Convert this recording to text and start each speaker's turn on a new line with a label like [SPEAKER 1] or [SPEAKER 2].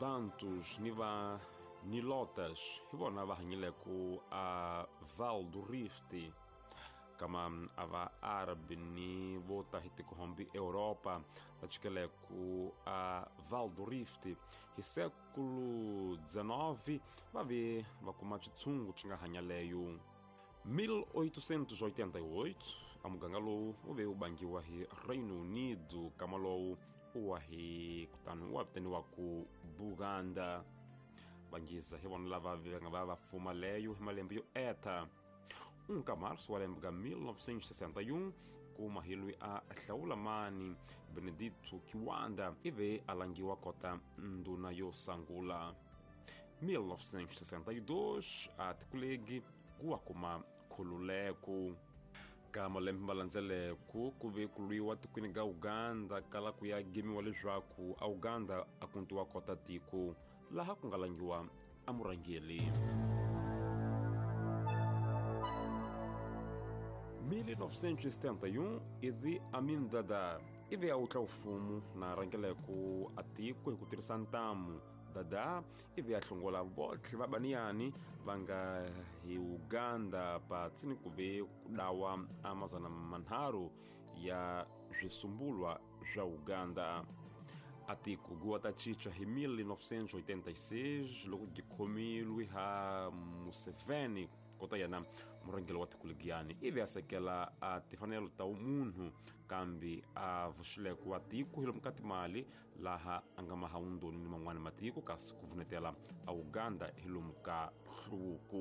[SPEAKER 1] Bantus ni va Nilotas hi vona va hanyileko a Val do Rift, kama a va Árabe ni vo ta hi tikohombi Europa va chikeleko a Val do Rift hi século XIX va ve va kuma xitshungu xi nga hanya leyo. 1888 a muganga lowu wu ve wu bangiwa hi Reino Unido, kama lowu u wa hi kutani wa vitaniwa ku Buganda. Vangiza hi vona lava va nga va va fuma leyo hi malembe yo eta. 1 ka março wa lembe ka 1961 kuma hi loyi a hlawula mani Benedito Kiwanda ivi a langiwa kota ndhuna yo sangula. 1962 a tikulegi ku wa kuma khululeko. Ka malembe ma landzeleko ku ve ku lwiwa tikweni ka Uganda kala ku ya gemiwa leswaku a Uganda a kuntiwa kota tiko laha ku nga langiwa a murhangeri. 1971 Idi Amin Dada ivi a wutla mfumo na rhangeleko a tiko hi ku tirhisa ntamu. Dada ivi a hlongola votlhe va baniyani va nga hi Uganda patsini ku ve ku dawa a 300 ya swisumbulwa swa Uganda. A tiko guwa ta cinca hi 1986 loko byi khomilwe ha Museveni kota yena murhangeri wa tiko legiyani ivi a sekela a timfanelo ta munhu kambe a vuxileko wa tiko hi lomu ka timali laha a nga maha wundoni ni man'wani matiko kasi ku vunetela a Uganda hi lomu ka hluvuko.